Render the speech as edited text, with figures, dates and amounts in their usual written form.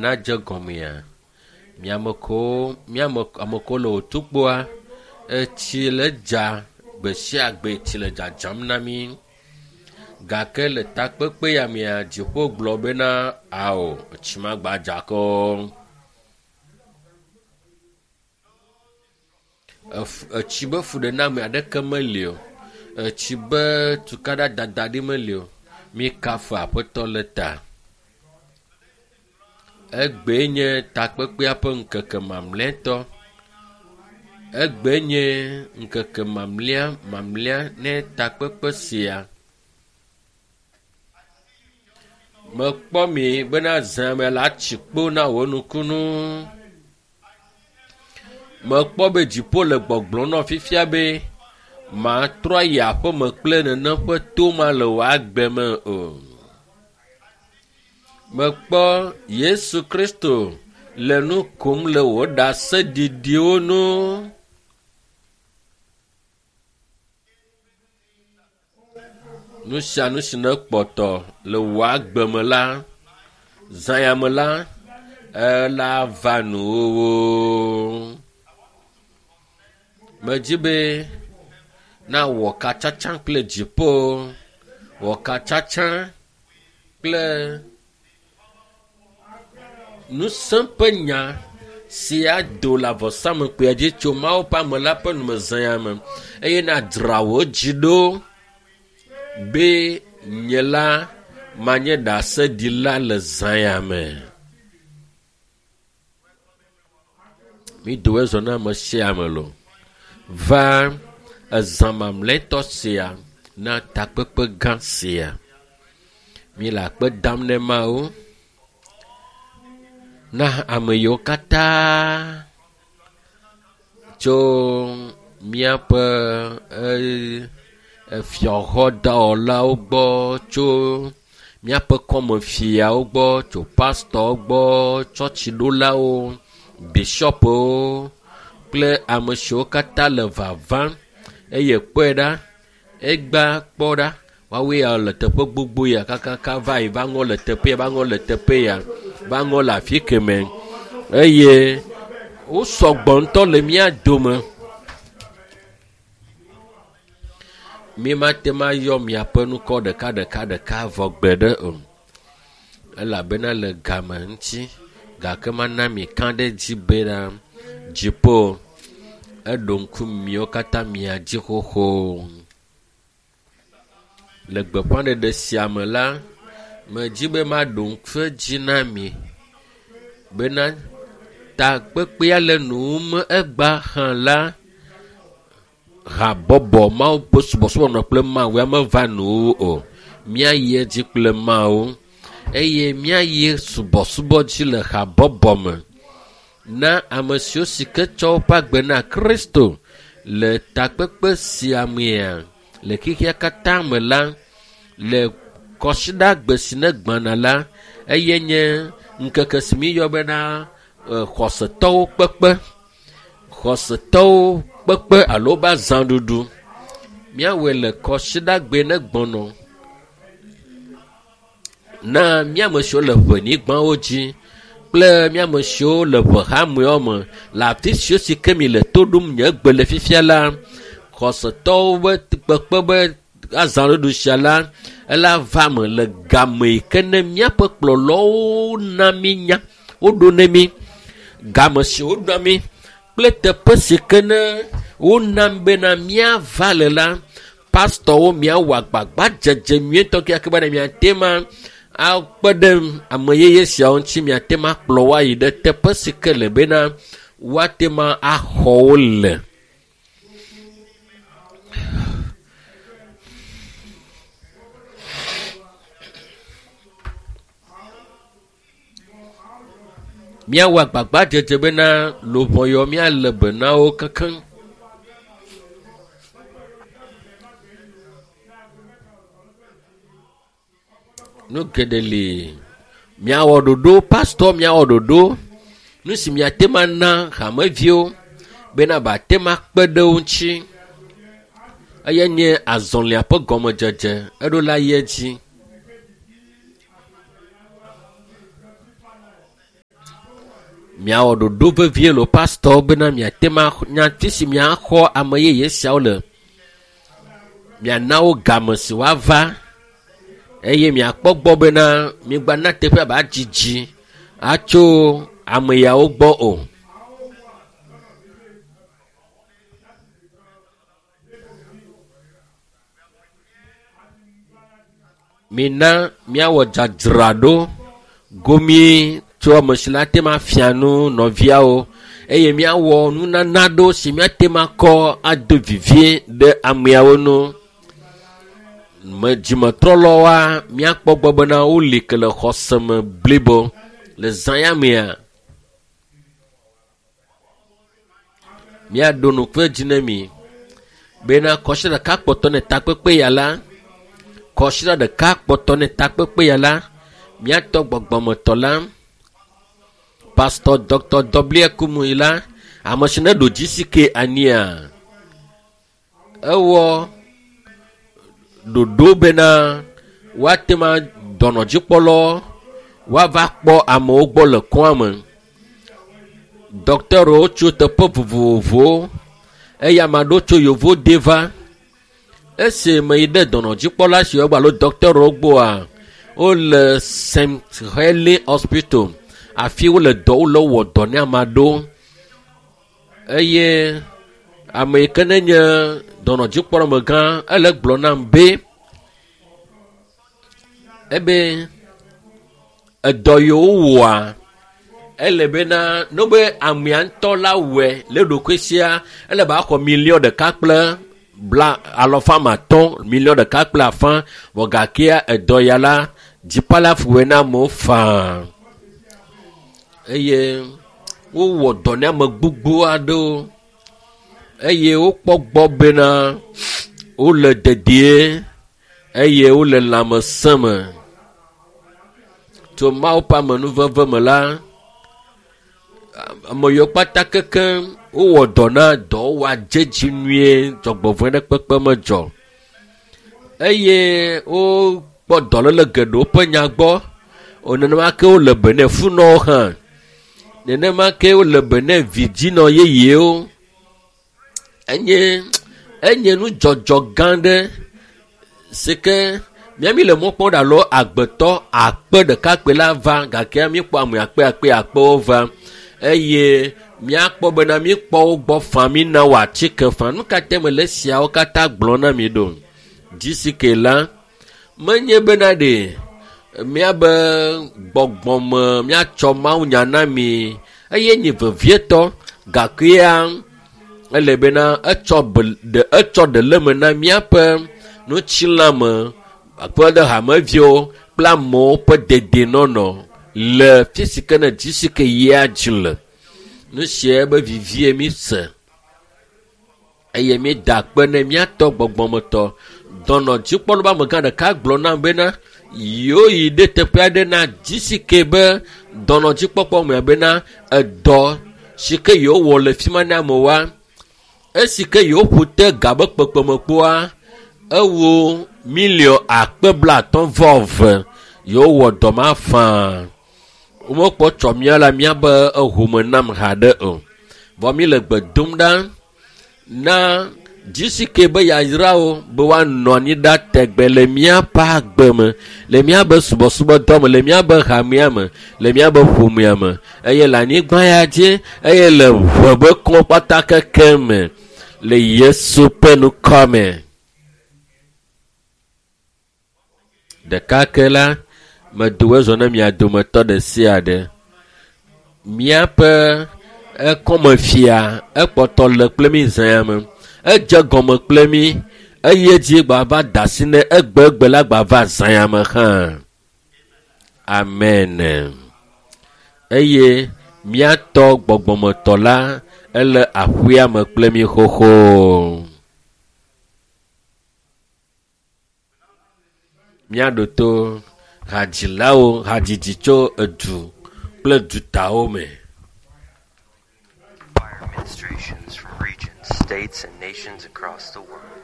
Nadze gɔmea, miame kewo miame ame kewo le wotukpoa, etsi le dza gbe sia gbe tsi le dzadzam na mi gake le takpekpe ya mea, dziƒo gblɔ bena ao etsi magba dza ke o. Etsi be fuɖename aɖeke meli o. Etsi be tukaɖa dada ɖi meli o. Mi kafu aƒetɔ le ta. Egbee nye takpekpea ƒe ŋkeke mamlɛtɔ. Egbee nye ŋkeke mamlɛa mamlɛa ne takpekpe sia. Mekpɔ mi bena zã me la tsi kpo na wò nukunu. Mekpɔ be dziƒo le gbɔgblɔm nɔ fifia be matrɔ ayi aƒeme kple nenem ƒe to ma le wò agbe me o. Mekpɔ Yesu Kristo le nu kom le wò ɖaseɖiɖiwo nu. Nu sia nu si nekpɔtɔ le wò agbe me la, zã ya me la, ela va nuwòwò. Medzi be nawɔ katsatsa kple dziƒo, wɔ katsatsa kple ŋusẽ ƒe nya si ado le avɔsamekpuia dzi tso Mawu ƒe ame la ƒe numezã ya me eye nadzra wò dzi ɖo be nye la manye ɖaseɖila le zã ya me. Mi do ezɔ na ame sia ame lo. Va ezã mamlɛtɔ sia na takpekpe gã sia. Mi le akpe dam ne Mawu na ame yiwo katã tso míaƒe efiaxɔdɔwɔlawo gbɔ, tso míaƒe kɔmefiawo gbɔ, tso pastɔwo gbɔ, tsɔtsiɖolawo, bishɔpwo kple ame siwo katã le vavam eye kpɔe ɖa, egbea kpɔ ɖa, woawoe ya le teƒe gbogbo ya kakaka va yi va ŋɔ le teƒe ya, va ŋɔ le teƒe ya, va ŋɔ le afi kemɛ eye wo sɔgbɔ ŋutɔ le mía dome. Mi mate ŋu ayɔ miaƒe ŋkɔ ɖeka ɖeka ɖeka vɔ gbe ɖe o elabena le game ŋuti gake mana mi ka ɖe dzi bena dziƒo eɖo ŋku miwo katã mia dzi xoxo. Le gbeƒãɖeɖe sia me la, medzi be maɖo ŋku edzi na mi bena takpekpea le nuwum egbea hã la, habɔbɔ Mawu ƒe subɔsubɔ nɔ kple Mawu ya meva nuwuwu o. Míayi edzi kple Mawu eye míayi subɔsubɔ dzi le habɔbɔ me na ame siwo si ke tsɔ woƒe agbe na Kristo le takpekpe sia mea le xexea katã me la le kɔsiɖagbe si ne gbãna la eye nye ŋkeke si míeyɔ bena xɔsetɔwo kpekpe xɔsetɔwo kpekpe alo wobe azãɖuɖu. Míawɔe le kɔsiɖagbe ne gbɔnɔ na míame siwo le ʋenyigbawo dzi kple míame siwo le ʋe hameawo me le afi siwo si ke mi le to ɖom nye gbe le fifia la, xɔsetɔwo be kpekpe be azãɖuɖu sia la, ela va me le game yi ke ne míaƒe kplɔlawo na mí nya, woɖo ne mí, game si woɖo mí kple teƒe si ke ne wona bena míava le la, pastɔwo miawɔ agbagba dzedze nyuietɔ kekeake bena miate ma akpe ɖe ame yeye siawo ŋuti miate ma akplɔ wo ayi ɖe teƒe si ke le bena woate ma axɔ wo le. Míawɔ agbagba dzedze bena luʋɔ yɔ míalé be na wo kekeŋ. Nu geɖe li. Miawɔ ɖoɖo, pastɔ miawɔ ɖoɖo. Nu si miate ŋu ana hameviwo bena bate ŋu akpe ɖe wo ŋuti. Eya nye azɔlia ƒe gɔmedzedze. Eɖo la yi edzi. Miawɔ ɖoɖo vevie le pastɔwo bena miate ma nyati si miaxɔ ame yeye siawo le. Miana wo game si woava eye miakpɔ gbɔ bena migbana teƒea ba dzidzi atso ame yawo gbɔ o. Mina míawɔ dzadzraɖo gomie tso ame si la te ma fia nu nɔviawo eye míawɔ nunana ɖo si míate ma kɔ ado vivie ɖe ameawo nu. Me dzimetrɔlɔwoa míakpɔ gbɔ bena woli ke le xɔse me blibo le zã ya mea. Míaɖo nukpe dzi ne mi bena kɔsiɖa ɖeka kpɔtɔ ne takpekpe ya la kɔsiɖa ɖeka kpɔtɔ ne takpekpe ya la míatɔ gbɔgbɔmetɔ la pastor dr w kumuyi la ame si ne ɖo GCK ania ewɔ ɖoɖo bena woate ma dɔnɔdzikpɔlawo woava kpɔ amewo gbɔ le kɔa me. Dɔkitɛriwo tso teƒe vovovowo eye ame aɖewo tso yevo de va. Esi me yi ɖe dɔnɔdzikpɔla siwo gbɔ alo dɔkitɛriwo gbɔa wole St. Heli Hospital afi wole dɔ wole wɔ dɔ ne ame aɖewo eye ame yi ke ne nye dɔnɔdzikpɔlamegã ele gblɔ nam be ebe edɔ yiwo wɔa ele bena ne be amea ŋutɔ la wɔe le ɖokui sia ele be axɔ miliɔn ɖeka kple bla alɔfa ame atɔ̃ miliɔn ɖeka kple afã vɔ gakea edɔ ya la dzipalafu wɔe na amewo faa eye wowɔ dɔ ne ame gbogbo aɖewo eye wokpɔ gbɔ bena wole dedie eye wole lãmesẽ me. Tso Mawu ƒe amenuveve me la, ame yiwo kpata kekeŋ wowɔ dɔ na dɔwɔwɔa dze dzi nyuie dzɔgbevɔ̃e ɖe kpekpe medzɔ eye wokpɔ dɔléle geɖewo ƒe nya gbɔ. Nenema ke wole be ne funɔwo hã. Nenema ke wole be ne vidzinɔ yeyewo. Enye enye nudzɔdzɔ gã ɖe si ke míami le mɔ kpɔm ɖe alo agbetɔ akpe ɖekakpui la va gake míkpɔ ame akpe akpe akpewo va eye míakpɔ bena míkpɔ wo gbɔ faa mína wɔ atike faa. Nu ka te mele esiawo katã gblɔm na mi ɖo? GCK la menye bena ɖe míabe gbɔgbɔme míatsɔ mawunya na mi eye nye vevietɔ gakea ele bena etsɔ be ɖe etsɔ ɖe le me na míaƒe ŋutilãme akpe ɖe hameviwo kple amewo ƒe dedienɔnɔ le fi si ke ne GCK yia dzi le. Nu sia be vivie mi se eye mi da akpe ne míatɔ gbɔgbɔmetɔ. Dɔnɔdzikpɔla be amegã ɖeka gblɔ nam bena yewo yi ɖe teƒe aɖe na GCK be dɔnɔdzikpɔkpɔ me bena edɔ si ke yewowɔ le fi ma ne amewoa esi ke yewoƒo te ga be kpekpeme kpɔa ewo miliɔn akpe blaatɔ̃ vɔ eve yewowɔ dɔ ma faa. Womekpɔ tsɔ mía la míabe ehome nam haɖe o. Vɔ mi le gbe dom ɖa na GCK be yayrawo be woanɔ anyi ɖa tegbe le míaƒe agbe me, le míabe subɔsubɔdɔ me, le míabe hamea me, le míabe ƒomea me eye le anyigba ya dzi eye le ʋe be kɔ kpata keke me le Yesu ƒe ŋkɔ me. Ɖeka ke la, medo ezɔ ne mia dometɔ ɖe sia ɖe. Míaƒe ekɔmefia ekpɔtɔ le kple mí zã ya me. Edze gɔme kple mí eye dzi gbava da asi ne egbegbe la gbava zã ya me hã. Amen. Eye míatɔ gbɔgbɔmetɔ la ele aƒea me kple mí xoxo. Míaɖo to hadzilawo hadzidzi tso edu kple dutawo me. Choir ministrations from regions, states, and nations across the world.